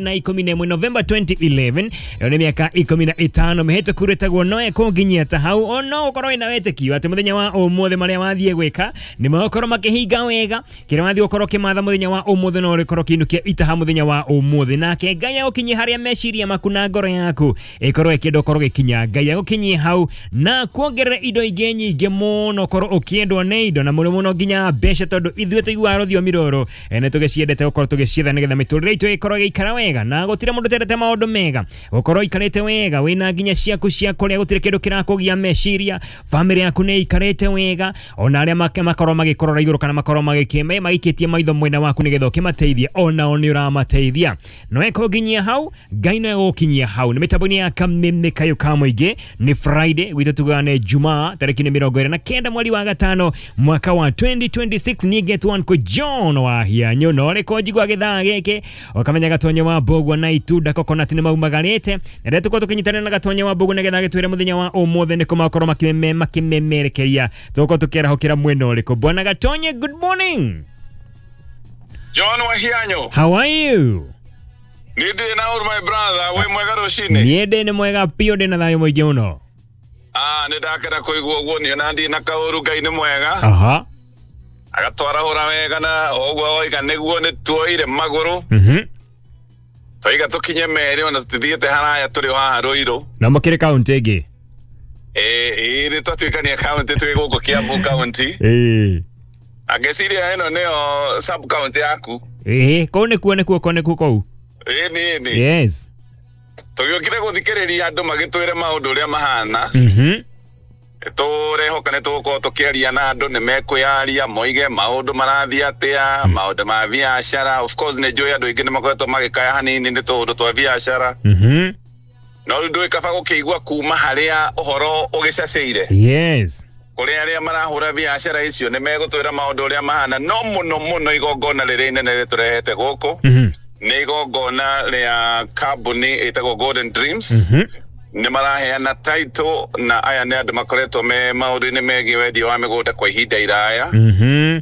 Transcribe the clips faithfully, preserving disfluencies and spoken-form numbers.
Na ikumi na ĩmwe November twenty eleven, ĩyo nĩ mĩaka ikũmi na ĩtano mĩhĩtũku rĩtagwo Noe kũnginyia ta hau. Ono ũkorwo wĩna wĩtĩkio atĩ mũthenya wa ũmũthĩ marĩa wathiĩ gwĩka nĩ magũkorwo makĩhinga wega, kĩrĩa wathiĩ gũkorwo ũkĩmatha mũthenya wa ũmũthĩ no ũrĩkorwo ũkĩinũkia itaha mũthenya wa ũmũthĩ, nake Ngai agũkinyie harĩa meciria maku na ngoro yaku ĩkorwo ĩkĩenda ũkorwo ũgĩkinya. Ngai agũkinyie hau na kuongerera indo ingĩ nyingĩ mũno, ũkorwo ũkĩendwo nĩ indo na mũno mũno nginya mbeca, tondũ ithuĩ tũiguaga rũthiomi rũrũ nĩ tũgĩciendete gũkorwo tũgĩcietha nĩgetha mĩtũrĩre itũ ĩkorwo ĩgĩikara wega, na gũtirĩ mũndũ ũtendete maũndũ mega. Gũkorwo ikarĩte wega wĩna nginya ciaku cia kũrĩa, gũtirĩ kĩndũ kĩrakũgia meciria, famĩlĩ yaku nĩ ikarĩte wega, ona arĩa makorwo magĩkũrora igũrũ kana makorwo magĩkĩme maikĩtie maitho mwena waku nĩgetha ũkĩmateithie, onao nĩ ũramateithia. No ekũnginyia hau, Ngai no egũkinyia hau. Nĩ mĩtambo-inĩ ya Kameme Kayũ ka Mũingĩ, nĩ Friday gwitũ tugaga nĩ Jumaa tarĩki nĩ mĩrongo ĩrĩ na kenda mweri wa gatano mwaka wa twenty twenty-six. Niĩ ngetwo Uncle John wa Hianyũ, na ũrĩko njigua gĩthaa gĩkĩ ũkamenya Gatonye wa Mbũgua na itunda coconut nĩ maumagarĩte. Na rĩrĩa tũkorwo tũkĩnyitanĩra na Gatonye wa Mbũgua nĩgetha agĩtwĩre mũthenya wa ũmũthĩ nĩkũ makorwo makĩmeme makĩmemerekeria, tũgũkorwo tũkĩarahũkĩra mwena ũrĩkũ. Bwana Gatonye, good morning. John wa Hianyũ, how are you? Nĩ ndĩ na ũru my brother, wĩ mwega rũcinĩ? Niĩ ndĩ nĩ mwega biũ, ndĩ na thayũ mũingĩ mũno. Ah, nĩ ndakena kũigua ũguo, niĩ ona ndirĩ na kaũru, Ngai nĩ mwega. Aha. Agatwarahũra wega na ũguo oiga nĩguo nĩ tuoire magũrũ. Mhm. Twaiga tũkinye merĩ ona tũtithiĩte haraya, tũrĩ o haha Rũirũ. Na mũkĩrĩ kaũntĩ ĩngĩ? Ĩĩ, ĩĩ, nĩ twatuĩkania kaũntĩ, twĩ gũkũ Kiambu kaũntĩ. Ĩĩ. Angĩciria ĩno nĩyo sub county yaku. Ĩĩ, kũu nĩkuo, nĩkuo, kũu nĩkuo kũu. Ĩĩ, nĩ, nĩ. Yes. Tũgĩũkire gũthikĩrĩria andũ magĩtwĩre maũndũ ũrĩa mahana. Mhm. Tũrehoka nĩ tũgũkorwo tũkĩaria na andũ, nĩ mekwĩyaria moige maũndũ marathiĩ atĩa, maũndũ ma biacara. Of course nĩ njũĩ andũ aingĩ nĩ makoretwo magĩkaya hanini nĩ tũũndũ twa biacara. Mhm. No rĩu ndũĩ kaba gũkĩigua kuma harĩa ũhoro ũgĩcacĩire. Yes. Kũrĩ arĩa marahũra biacara icio nĩ megũtwĩra maũndũ ũrĩa mahana, no mũno mũno igongona rĩrĩa inene rĩtũrehete gũkũ Mhm. nĩ igongona rĩa kambuni ĩtagwo Golden Dreams. Mhm. Nĩ maraheana title, na aya nĩ andũ makoretwo me maũndũ-inĩ megiĩ wendia wa mĩgũnda kwa ihinda iraya. Mhm.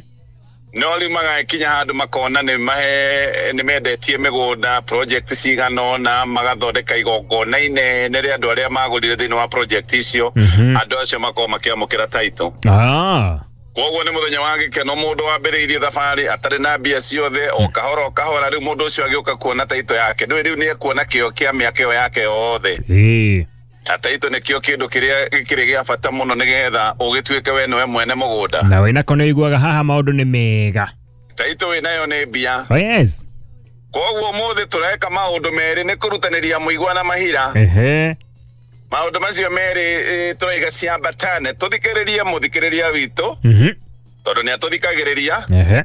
No rĩu magagĩkinya handũ makona nĩ mahe, nĩ mendetie mĩgũnda project cigana ũna, magathondeka igongona inene rĩa andũ arĩa magũrire thĩinĩ wa project icio. Mhm. Andũ acio makorwo makĩamũkĩra title. Ah. Koguo nĩ mũthenya wa gĩkeno, mũndũ wambĩrĩirie thabarĩ atarĩ na mbia ciothe, o kahora o kahora, rĩu mũndũ ũcio agĩũka kuona title yake, ndũĩ rĩu nĩ ekuona kĩo kĩa mĩaka ĩyo yake yothe. Ĩĩ. Na title nĩkĩo kĩndũ kĩrĩa gĩkĩrĩ gĩa bata mũno nĩgetha ũgĩtuĩke we nĩwe mwene mũgũnda. Na wĩna kono ũiguaga haha maũndũ nĩ mega. Title wĩnayo nĩ mbia. Oh yes. Koguo ũmũthĩ tũreka maũndũ merĩ, nĩ kũrutanĩria mũigua na mahira. Ehe. Maũndũ macio merĩ tũraiga ciambatane, tũthikĩrĩrie mũthikĩrĩria witũ. Mhm. Tondũ nĩ atũthikagĩrĩria. Ehe.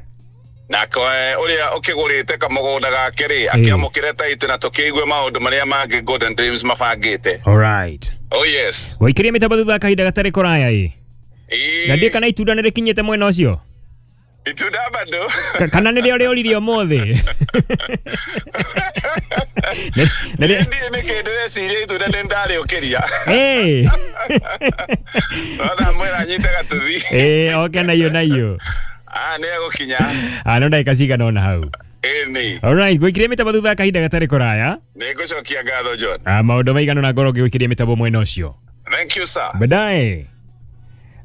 Nake ũrĩa ũkĩgũrĩte kamũgũnda gake rĩ, akĩamũkĩre title na tũkĩigue maũndũ marĩa mangĩ Golden Dreams mabangĩte. All right. Oh yes. Gũikĩria mĩtambo thutha wa kahinda gatarĩ kũraya ĩ. Ĩĩ. Na ndiũĩ kana itunda nĩ rĩkinyĩte mwena ũcio? Itunda bado. Kana nĩrĩo rĩoririe ũmũthĩ? Ndiĩ nĩkĩ ndĩreciria itunda nĩ ndarĩũkĩria. Ĩĩ. No ndamwĩra anyite gatuthi. Ĩĩ, oke naiyo naiyo. Ah, nĩ egũkinya. Ah, no ndagĩka cigana ũna hau. Ĩĩ nĩ. All right, gwĩkĩria mĩtambo thutha wa kahinda gatarĩ kũraya. Nĩ ngũcokia ngatho John. Ah, maũndũ maigana ũna ngorwo ngĩgwĩkĩria mĩtambo mwena ũcio. Thank you sir. Baadaye.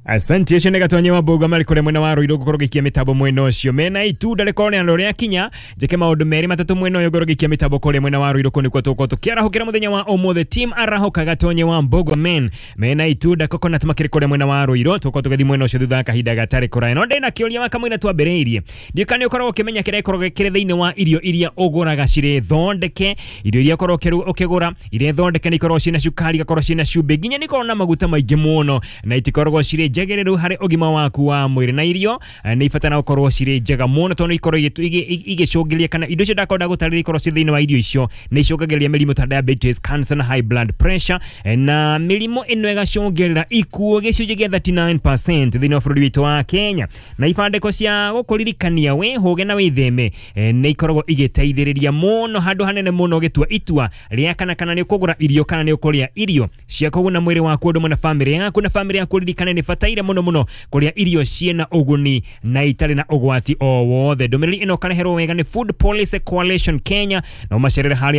Asante ũcio nĩ Gatonye wa Mbũgua marĩ kũrĩa mwena wa Rũirũ gũkorwo gĩikia mĩtambo mwena ũcio. Mena itunda rĩkorwo nĩ andũ rĩakinya, njĩke maũndũ merĩ matatũ mwena ũyũ ngorwo gĩikia mĩtambo kũrĩa mwena wa Rũirũ, kũu nĩkuo tũgũkorwo tũkĩarahũkĩra mũthenya wa ũmũthĩ. Team Arahũka Gatonye wa Mbũgua men mena itunda coconut makĩrĩ kũrĩa mwena wa Rũirũ, tũgũkorwo tũgĩthiĩ mwena ũcio thutha wa kahinda gatarĩ kũraya. No ndĩna kĩũria wa kamũira twambĩrĩirie, ndiũĩ kana nĩ ũkoragwo ũkĩmenya kĩrĩa gĩkoragwo kĩrĩ thĩinĩ wa irio iria ũgũraga cirĩ thondeke. Irio iria ũkoragwo ũkĩgũra irĩ thondeke nĩ ikoragwo ciĩna cukari, igakorwo ciĩna cumbĩ, nginya nĩ ikoragwo na maguta maingĩ mũno, na itikoragwo cirĩ njagĩrĩru harĩ ũgima waku wa mwĩrĩ. Na irio nĩ ibataraga gũkorwo cirĩ njega mũno, tondũ ikorwo igĩcũngĩrĩria, kana indo icio ndakorwo ndagũtarĩria ikorwo cirĩ thĩinĩ wa irio icio nĩ icũngagĩrĩria mĩrimũ ta diabetes, cancer na high blood pressure, na mĩrimũ ĩno ĩgacũngĩrĩra ikuũ gĩcunjĩ gĩa thirty-nine percent thĩinĩ wa bũrũri witũ wa Kenya. Na ibandĩko cia gũkũririkania wĩhũge na wĩtheme nĩ ikoragwo igĩteithĩrĩria mũno handũ hanene mũno ũgĩtua itua rĩa kana kana nĩ ũkũgũra irio kana nĩ ũkũrĩa irio cia kũguna mwĩrĩ waku ũndũ ũmwe na bamĩrĩ yaku. Na bamĩrĩ yaku ũririkane nĩ bata Tũbataire mũno mũno kũrĩa irio ciĩna ũguni na itarĩ na ũgwati o wothe. Ndũmĩrĩri ĩno ũkareherwo wega nĩ Food Policy Coalition Kenya, na ũmacerere harĩa